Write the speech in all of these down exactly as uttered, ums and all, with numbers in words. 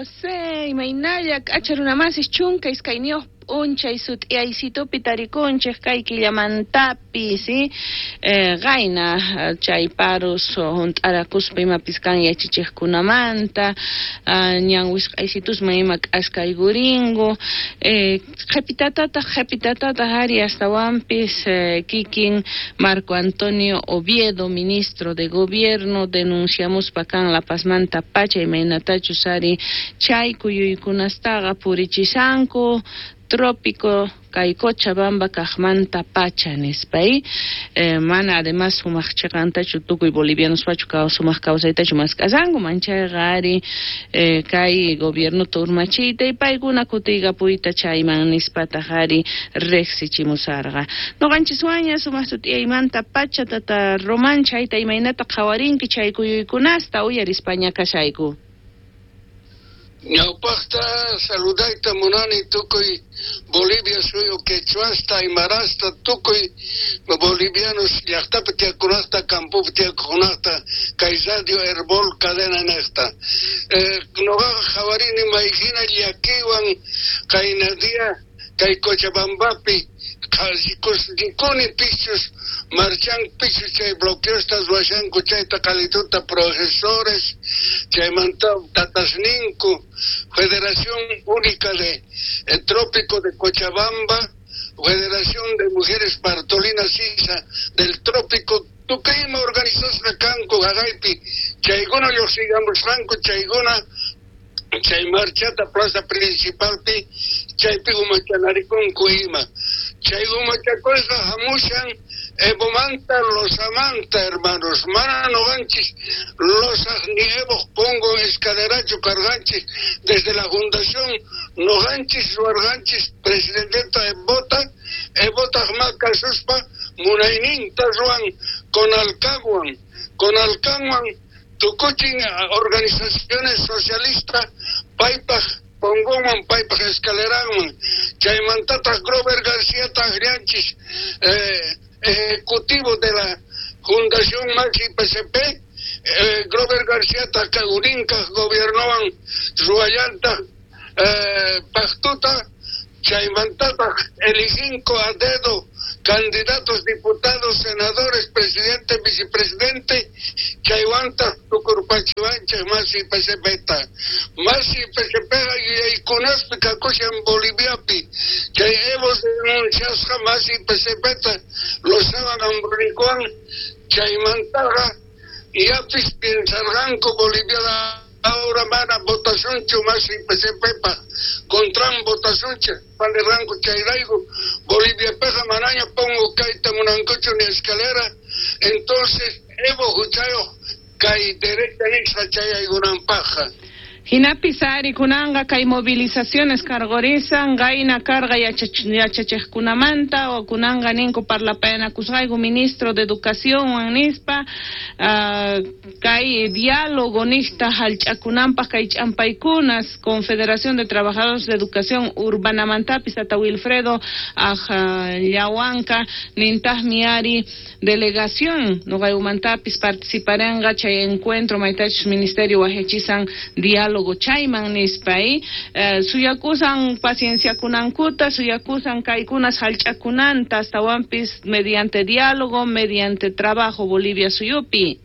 José, imaynalla k'acha runamasis chunka iskayniyuq p'unchay sut'iyaysitupi tarikunchik kay killamantapis eh, qayna chay parus hunt'arakuspa imapis kan yachachiqkunamanta ñan wisq'aysitusman ima k'askaykurinku eh, qhipitatataq qhipitatataq ari astawanpis eh, kikin Marco Antonio Oviedo, ministro de gobierno, denunciamuspa kan La Pazmanta pacha imaynatachus ari chay kuyuykunastaqa purichisanku trópico kay Cochabamba kaqmanta pacha nispa eh, mana además sumaq chiqantachu tukuy bolivianospachu sumaq kawsaytachu mask'asanku manchayqa ari eh, kay gobiernota urmachiyta y paykuna kutiykapuyta chayman nispataq ari riqsichimusarqa nuqanchiswanña sumaq sut'iyaymanta pacha tata Román chayta imaynata qhawarinki chay kuyuykunasta uyarispaña kashayku. Ñawpaqta saludayta munani tukuy Bolivia suyu quechuasta, aymarasta, tukuy bolivianos llaqtapi tiyaqkunata, campopi tiyaqkunata, kay Radio Herbol cadena niqta. Eh, nuqaqa qhawarini mayhina llakiywan qayna día kay Cochabambapi rikuni pichus marchan pichus chay bloqueosta ruwashanku chayta qalituta profesores chaymanta tatasninku Federación Única de eh, Trópico de Cochabamba, Federación de Mujeres Bartolina Sisa del Trópico, tukuyma organizasqa kanku haqaypi chaykuna lluqsigamusqanku chaykuna chay marchata plaza principalpi chaypi umachanarikunku ima chay umachakusqa hamushan Evomanta Losamanta, hermanos, mana nuqanchis Losaj ni Evo pongo escalerachu karqanchis desde la fundación nuqanchis ruwarqanchis presidenteta Evota Evotaq ma kasuspa munayninta ruwan Conalcanwan Conalcanwan tukuchin organizaciones socialistas paypaj pongoman paypaj escaleranman chaymantataq Grover García taqrianchis eh, ejecutivo de la Fundación Maxi P C P, eh, Grover García urinka gobiernowan ruwallantaq eh, pactuta chaymantataq eliginko a dedo candidatos, diputados, senadores, presidente, vicepresidente, chaywantaq tukurpachiwanchik Masi P C P ta. Masi P C P yuyaykunaspi kakushan Boliviapi, chay Evo denunciasqa Masi P C P ta Lozawan Ambrunikuwan chaymantaqa yapis piensarqanku Bolivia ahora mana votacionchu Masi P C P pa contran votacionchu panirranku chayrayku Bolivia peja manaña pongo kayta munankuchu ni escalera entonces Evo huchayuq kay derecha nisqa chayaykunanpaqqa. Hinapis ari kunanqa kay movilizaciones karqurisan qayna karqa yachachiqkunamanta o kunanqa ninku parlapayanakusqayku ministro de educación nispa uh, kay diálogo niqta hallch'akunanpaq kay ch'ampaykunas Confederación de Trabajadores de Educación Urbanamantapis tata Wilfredo Ajllawanka nintaqmi ari delegación nuqaymantapis participaranqa chay encuentro maytachus ministerio wajachisan diálogo chayman nispa eh, suyakusan pacienciakunankuta suyakusan kaykunas hallch'akunanta astawanpis mediante diálogo mediante trabajo Bolivia suyupi.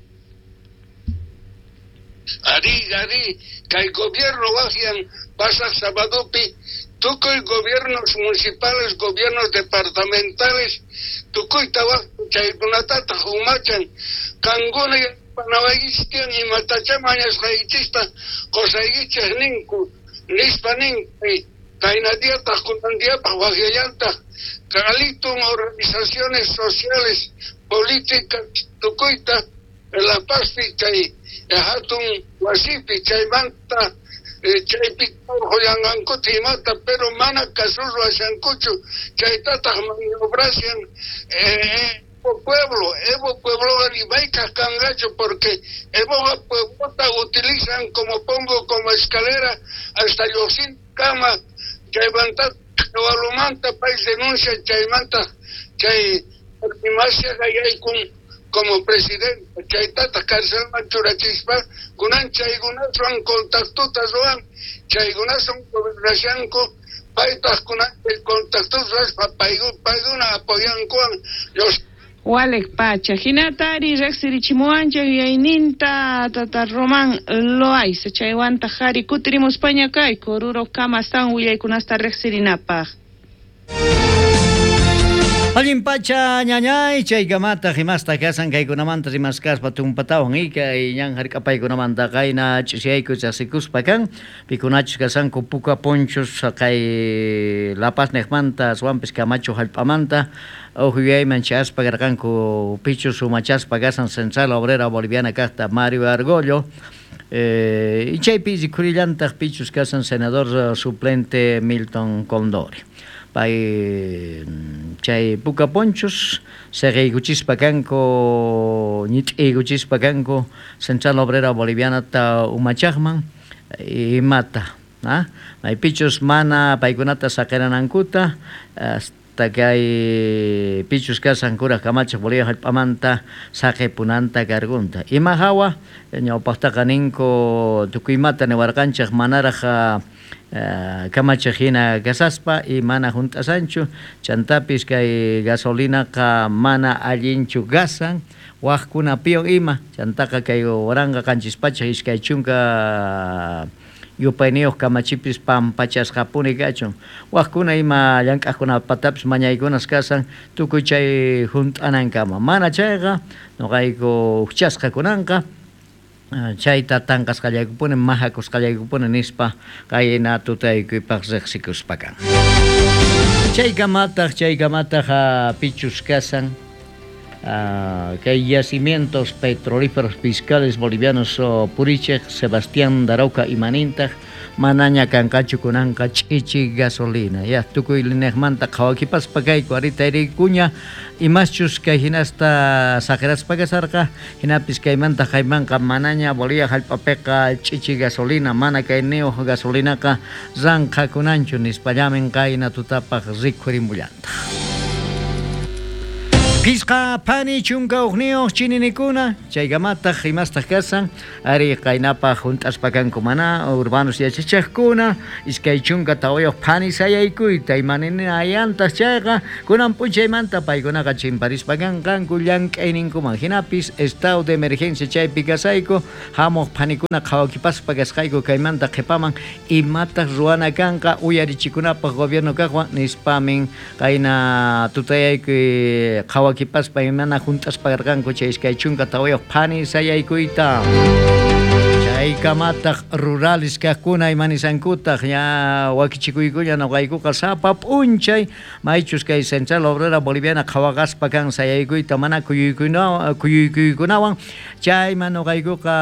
Ari, ari, kay gobierno wajian pasaq sabadupi tukuy gobiernos municipales, gobiernos departamentales tukuyta waj chaykunatataq umachan kankuna panawaykichtian imatacha mañasqaykichista qusaykichik ninku nispa ninku kayna diataq kunan diapaq wajyallantaq qalitun organizaciones sociales políticas tukuyta La Pazpi chay hatun wasipi chaymanta chaypi urqullanqankuta imata pero mana kasus ruwashankuchu chaytataq maniobrashan eh, pueblo, Evo pueblo rimaykaq kanqachu porque Evo pueblota utilizan como pongo como escalera hasta lluqsin kama chaymanta walumanta pay denuncia chaymanta chay masyaqa yaykun como presidente chaytataq carcelman churachispa kunan chaykunaswan contactota ruwan chaykunaswan gobernashanku paytaq kunan contactos ruwaspa paykuna apoyankuwan los Walek pacha, hinatari riqsirichimuwanchik yuyayninta tata Román Loaiza chaywanta qhari kutirimuspaña kayku Oruro kamastawan willaykunasta riqsirinapaq. Allin pacha ñañay chaykamata himasta kasan kaykunamanta rimaskaspa tumpatawan kay ñan hark'apaykunamanta qayna ch'isiyayku chasikuspa kan pikunachus kasanku puka ponchos kay La Paz niqmanta aswanpis Camacho hallp'amanta uj yuyayman chayaspa karqanku pichus umachaspa kasan Central Obrera Boliviana kaqta Mario Argollo. Eh, y chaypi rikhurillantaq pichus kasan senador suplente Milton Condori. Pay chay puka ponchos seguiykuchispa kanku ñit'iykuchispa kanku Central Obrera Boliviana ta umachaqman imata ah maypichus mana paykunata saqeranankuta hasta kay pichus kasan kuraq kamachaq Bolivia hallp'amanta saqipunanta kargunta ima hawa ñawpaqtaqa ninku tukuymata niwarqanchik manaraq Uh, kamachaq hina kasaspa y mana hunt'asanchu chantapis kay gasolinaqa mana allinchu gasan waqkunapiwan ima chantaqa kay waranqa qanchis pachak iskay chunka yupayniyuq kamachipis pampachasqapuni kachun waqkuna ima llank'aqkunapatapis mañaykunas kasan tukuy chay hunt'anankama mana chayqa nuqayku huchasqa kunanqa chayta tanqasqallaykupuni mahakusqallaykupuni nispa qayna tutaykuypaq riqsikuspa kan. Chaykamataq chaykamataq pichus kasan kay yacimientos petrolíferos fiscales bolivianos purichej Sebastián Daroca imanintaq manaña kanqachu kunanqa ch'ichi gasolina ya tukuy lineqmanta qhawakipaspa kayku arita irikuña imaschus kay hinasta saqiraspa kasarqa hinapis kaymanta qaymanqa manaña Bolivia hallp'apiqa ch'ichi gasolina mana kayniyuq gasolinaqa ranqhakunanchu nispallamin qayna tutapaq rikhurimullataq. Pisqa phani chunka uqniyuq chininikuna chaykamataq imastaq kasan ari qaynapaq hunt'aspa kanku mana urbanos yachachiqkuna iskay chunka tawayuq phani sayaykuyta imaninayantaq chayqa kunan p'unchaymanta paykunaqa chimparispa kanqanku llank'ayninkuman hinapis estado de emergencia chaypi kasayku hamuq phanikuna qhawakipaspa kasqayku kaymanta qhipaman imataq ruwana kanqa uyarichikunapaq gobierno kaqwan nispamin qayna tutayaykuy qhawa kipaspa imana hunt'aspa karqanku chay iskay chunka tawayuq phani sayaykuyta. Chaykamataq rurales kaqkuna imanisankutaq ña wakichikuykuña nuqaykuqa sapa p'unchay maychus kay Central Obrera Boliviana qhawaqaspa kan sayaykuyta mana kuyuykuna kuyuykuykunawan chayman nuqaykuqa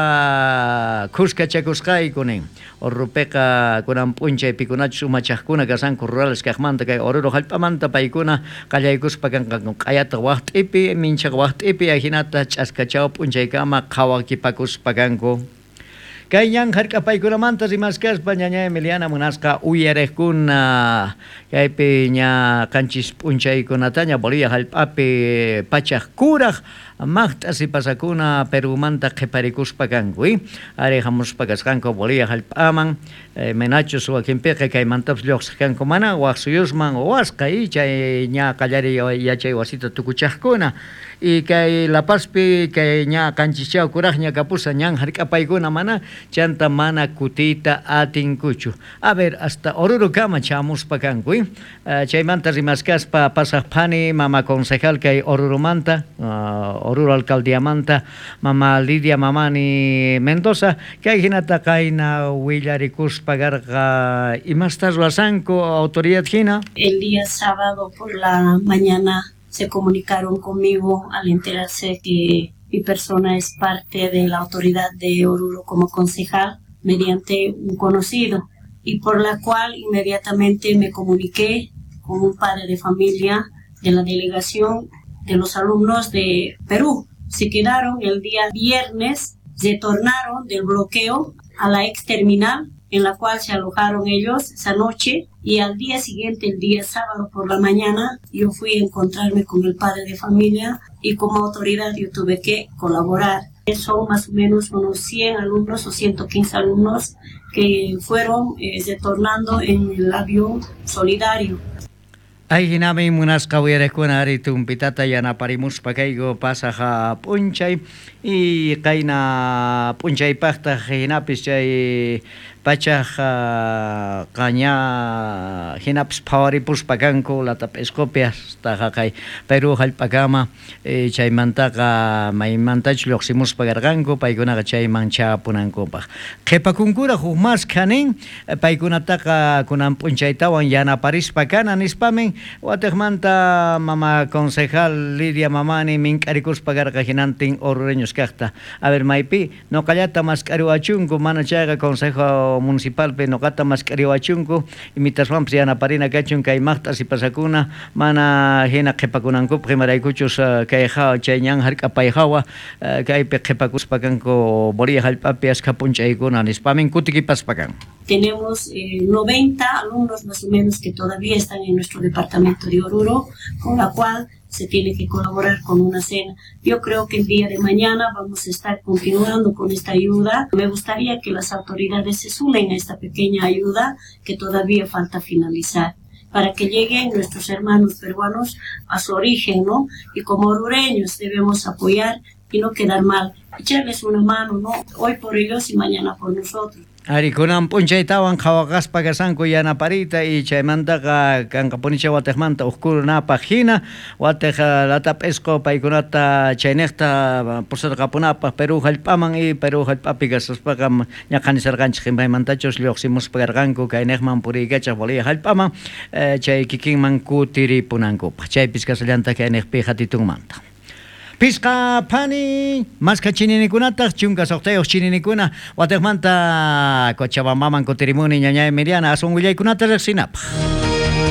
khuskachakusqayku nin Orrupiqa kunan p'unchay pikunachus umachaqkuna kasanku rurales kaqmanta kay Oruro hallp'amanta paykuna qallaykuspa kanqanku q'ayataq waqt'ipi minchaq waqt'ipi ajinata ch'askachaw p'unchaykama qhawakipakuspa kanku. Kay ñan hark'apaykunamanta rimaskaspa ñaña Emiliana munasqa uyariqkuna kaypi ña qanchis p'unchaykunataña Bolivia hallp'api pachaq kuraq maqt'a sipasakuna Perumanta qhiparikuspa kanku ari hamuspa kasqanku Bolivia hallp'aman menachus wakinpiqa kaymantapas lluqsiq kanku mana waq suyusman wasqa y chay ña qallariy yachay wasita tukuchaqkuna y kay La Pazpi kay ña qanchischaw kuraqña kapusa ñan hark'apaykuna mana chanta mana kutiyta atinkuchu. A ver, hasta Orurokama chamuspa kanku uh, chaymanta rimaskaspa pasaq phani mama concejal kay Oruromanta uh, Oruro alcaldiamanta mama Lidia Mamani Mendoza kay hinata qayna willarikuspa karqa imasta ruwasanku autoridad hina. El día sábado por la mañana se comunicaron conmigo al enterarse que mi persona es parte de la autoridad de Oruro como concejal mediante un conocido, y por la cual inmediatamente me comuniqué con un padre de familia de la delegación de los alumnos de Perú. Se quedaron el día viernes, retornaron del bloqueo a la ex terminal en la cual se alojaron ellos esa noche, y al día siguiente, el día sábado por la mañana, yo fui a encontrarme con el padre de familia y como autoridad yo tuve que colaborar. Son más o menos unos cien alumnos o ciento quince alumnos que fueron eh, retornando en el avión solidario. Ay, hinami munasqa uyariqkuna ari tumpitata yanaparimuspa kayku pasaja p'unchay y qayna p'unchaypaqtaq hinapis chay pachaj qaña hinapis phawaripuspa kanku latap'isqupi hasta jaqay Perú hallp'akama chaymantaqa maymantachu lluqsimuspa karqanku paykunaqa chayman chapunankupaq qhipakunkura huk maskha nin paykunataqa kunan p'unchaytawan yanaparispa kana nispamin watiqmanta mama concejal Lidia Mamani mink'arikuspa karqa hinantin orureños kaqta a ver maypi nuqallata mask'ariwachunku mana chayqa consejo municipalpi nuqata mask'ariwachunku imitaswanpis yanaparina kachun kay maqt'a sipasakuna mana hina qhipakunankupaq imaraykuchus kay hawa chay ñan hark'apay hawa kaypi qhipakuspa kanku Bolivia hallp'api askha p'unchaykuna nispamin kutikipaspa kan. Tenemos eh, noventa alumnos más o menos que todavía están en nuestro departamento de Oruro, con la cual se tiene que colaborar con una cena. Yo creo que el día de mañana vamos a estar continuando con esta ayuda. Me gustaría que las autoridades se sumen a esta pequeña ayuda que todavía falta finalizar, para que lleguen nuestros hermanos peruanos a su origen, ¿no? Y como orureños debemos apoyar y no quedar mal, echarles una mano, ¿no? Hoy por ellos y mañana por nosotros. Ari kunan p'unchaytawan qhawaqaspa kasanku yanaparita y chaymantaqa kanqapunicha watiqmanta uqkunapaq hina watiq latap'isqu paykunata chayniqta pusarqapunapaq Perú hallp'aman y Perú hallp'api kasaspaqa ñaqanisarqanchik imaymantachus lluqsimuspa karqanku kayniqman puriykachaq Bolivia hallp'aman chay kikinman kutiripunankupaq chaypis kasallantaq kayniqpi hatitunmanta. Pisqa phani maskha chininikunataq chunka suqtayuq chininikuna watiqmanta Cochabambaman kutirimuni ñañay Miriana aswan willaykunata riqsinapaq.